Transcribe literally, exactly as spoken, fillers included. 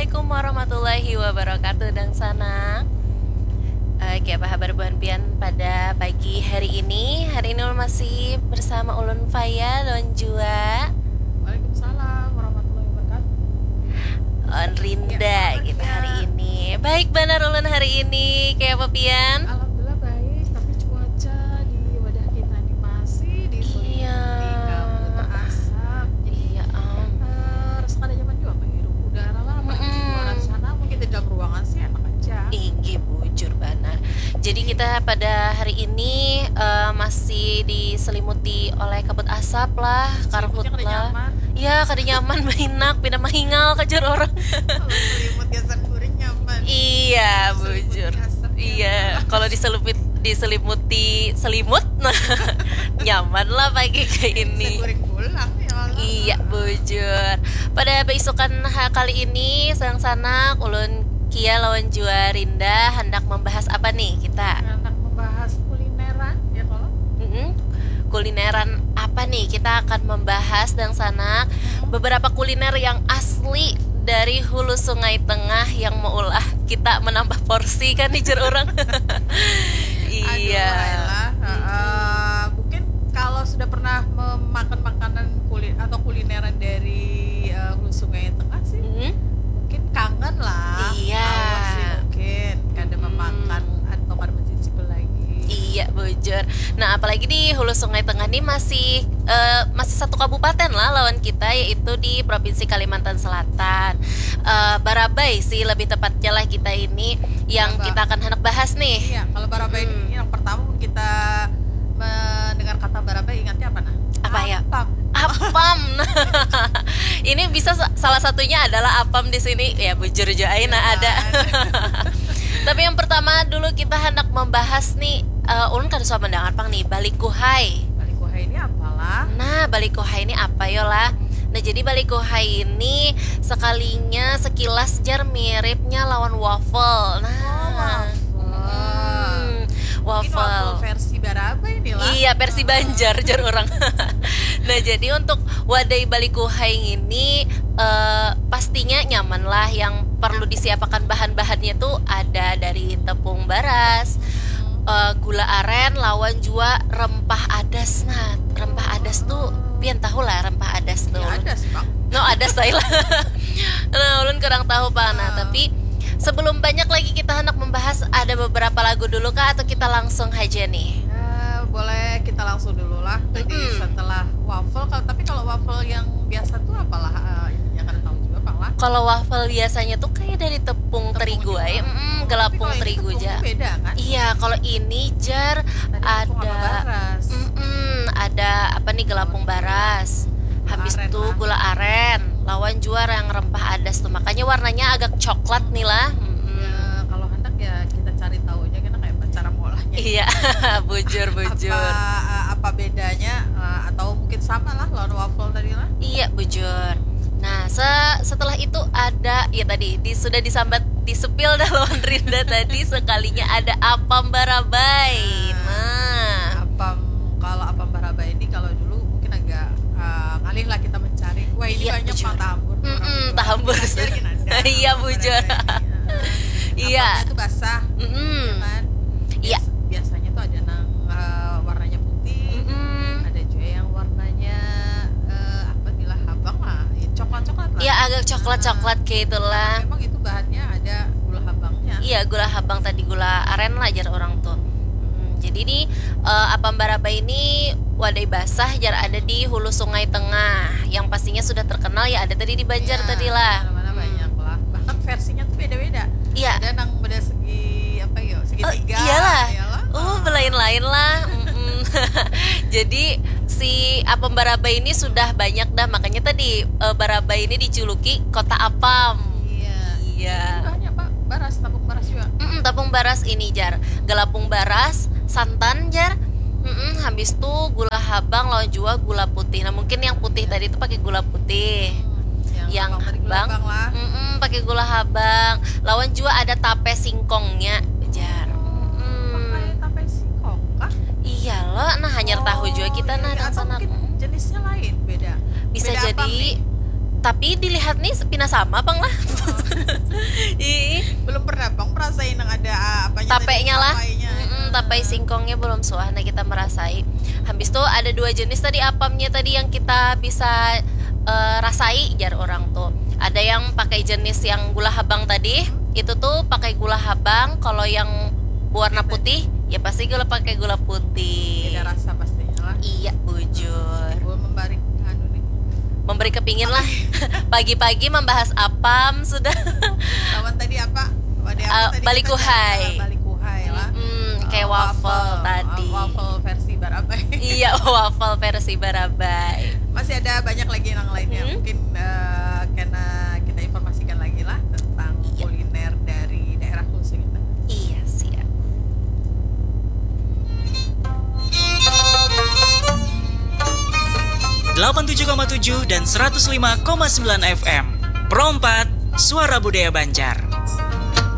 Assalamualaikum warahmatullahi wabarakatuh, dangsanak. Oke, apa habar buhan pian pada pagi hari ini? Hari ini ulun masih bersama ulun Faya lawan jua Waalaikumsalam warahmatullahi wabarakatuh. Lawan Rinda kita hari ini. Baik banar ulun hari ini. Kayak apa pian? Alhamdulillah baik, tapi cuaca di wadah kita ini masih diselimuti kabut asap. Jadi, iya, eh, rasa kada nyaman juga menghirup udara lah, apalagi di luaran sana. Mungkin di dalam ruangan sih enak aja. Inggih, bujur banar. Jadi kita pada hari ini, eh, masih diselimuti oleh kabut asap lah, karhut lah. Ya, kada nyaman, bahinak, pina mahingal kajar orang. Kalau selimut gasan guring nyaman. Iya, bujur. Iya, kalau diselipit, diselimuti selimut, nyaman lah pagi kayak ini. Bisa guring pulang ya Allah. Iya, bujur. Pada beisukan ha-, kali ini, sanak-sanak, ulun Kia lawan jua Rinda handak membahas apa nih kita? Handak membahas kulineran, ya kalau? Mm-mm. Kulineran apa nih? Kita akan membahas, dangsanak, beberapa kuliner yang asli dari Hulu Sungai Tengah yang meulah kita menambah porsi, kan, jar orang. Iya. Aduh, ayolah. Heeh. Mungkin kalau sudah pernah memakan makanan kulit atau kulineran dari, eh, Hulu Sungai Tengah sih, mm-hmm, mungkin kangen lah. Iya. Awal sih mungkin kada memakan atau kada mencicipi lagi. Iya, bujur. Nah, apalagi di Hulu Sungai Tengah nih masih, eh, masih satu kabupaten lah lawan kita, yaitu di Provinsi Kalimantan Selatan. Eh, Barabai sih lebih tepatnya lah kita ini yang kita akan hendak bahas nih. Iya, kalau Barabai ini yang pertama kita mendengar kata Barabai, ingatnya apa, nah? Apa ya? Apam. Apam. Ini bisa sa-, salah satunya adalah apam di sini. Ya, bujur aja, ai, nah, ada. Tapi yang pertama dulu kita hendak membahas nih, eh, ulun kada suah mendengar pang nih, balikuhai. Balikuhai ini apalah? Nah, balikuhai ini apa yo lah? Nah, jadi balikuhai ini sekalinya sekilas jar miripnya lawan waffle. Nah, oh, waffle. Hmm, waffle. Mungkin waffle versi Barabai nih lah. Iya, versi Banjar, jar orang. Nah, jadi untuk wadai balikuhai ini, eh, pastinya nyaman lah. Yang perlu disiapakan bahan-bahannya tuh ada dari tepung baras, eh, gula aren, lawan jua rempah adas. Nah, rempah adas tuh pian tahu lah rempah adas tuh? Ya, adas, Bang. No, adas, saya lah. Nah, ulun kurang tahu, Pak. Nah, tapi sebelum banyak lagi kita hendak membahas, ada beberapa lagu dulu kah atau kita langsung aja nih? Eh, boleh kita langsung dulu lah. Tadi setelah waffle, kalau, tapi kalau waffle yang biasa tuh apalah, eh, ininya, kada tahu juga pang lah. Kalau waffle biasanya tuh kayak dari tepung terigu aja. Mm, gelapung terigu aja. Beda kan? Iya, kalau ini jar ada, mm, ada apa nih, gelapung baras. Habis itu gula aren, lawan jua yang rempah adas tuh. Makanya warnanya agak coklat nih lah. Mm-mm. Ya, kalau hendak ya kita cari tahu aja, kita kayak cara mengolahnya. Iya, bujur, bujur. Apa, eh, apa bedanya, eh, atau mungkin sama lah lawan waffle tadi lah? Iya, bujur. Nah, se-, setelah itu ada, ya tadi di-, sudah disambat, disepil dah lawan Rinda tadi, sekalinya ada apam Barabai. Nah, apam, kalau apam Barabai ini kalau dulu mungkin agak, eh, ngalih lah kita mencari. Wah, ini banyak pang tahambur. Mm-mm, tahambur. Iya, bujur. Iya. Apamnya tuh basah, ya kan? Iya. Biasanya tuh ada nang, eh, warnanya putih, ada juga yang warnanya, eh, apa, gula habang lah, ya, coklat-coklat lah. Ya, agak coklat-coklat kayak itulah. Memang itu bahannya ada gula habangnya. Iya, gula habang tadi, gula aren lah jar orang tuh. Mm, jadi nih, eh, apam Barabai ini wadai basah jar ada di Hulu Sungai Tengah. Yang pastinya sudah terkenal ya ada tadi di Banjar tadi lah. Mana-mana banyak lah. Bahkan versinya tuh beda-beda. Iya. Ada nang beda segi apa ya? Segitiga. Oh, iyalah. Oh, belain-lain lah. Mm-mm. Jadi si apam Barabai ini sudah banyak dah, makanya tadi, eh, Barabai ini dijuluki kota apam. Iya. Iya. Bahannya apa? Baras, tepung baras juga. Mm-mm, tepung baras ini jar. Gelapung baras, santan jar. Mm-mm, habis tu gula habang lawan jua gula putih. Nah, mungkin yang putih tadi itu pakai gula putih. Hmm, yang habang, mm-mm, pakai gula habang. Lawan jua ada tape singkongnya jar. Mm-mm. Pakai tape singkong kah? Iya lo, nah, hanyar tahu jua kita, nah, iya, atau mungkin jenisnya lain, beda. Bisa jadi Tapi dilihat nih pina sama pang lah. Ih, Belum pernah bang merasai nang ada ah, apanya tadi, tapenya lah. Tapainya. Mm-mm, tapai singkongnya belum suah nah kita merasai. Habis tuh ada dua jenis tadi apamnya tadi yang kita bisa eh, rasai jar orang tuh. Ada yang pakai jenis yang gula habang tadi, itu tuh pakai gula habang. Kalau yang warna putih, ya pasti gula pakai gula putih. Beda rasa pastinya lah. Iya, bujur. Gue memberi anu nih. Memberi kepingin lah. Pagi-pagi membahas apam sudah. Lawan tadi apa? Wadah apa Ah, tadi balik kita kuhai. Jalan balik kuhai lah. Hmm, kayak Ah, waffle, tadi. Ah, waffle versi Barabai. Iya, waffle versi Barabai. Masih ada banyak lagi yang lainnya. Hmm. Mungkin eh, karena kita informasikan lagi lah tentang Iya. Kuliner dari daerah khusus kita. Iya, siap. Delapan tujuh koma tujuh dan seratus lima koma sembilan F M. Pro empat, Suara Budaya Banjar.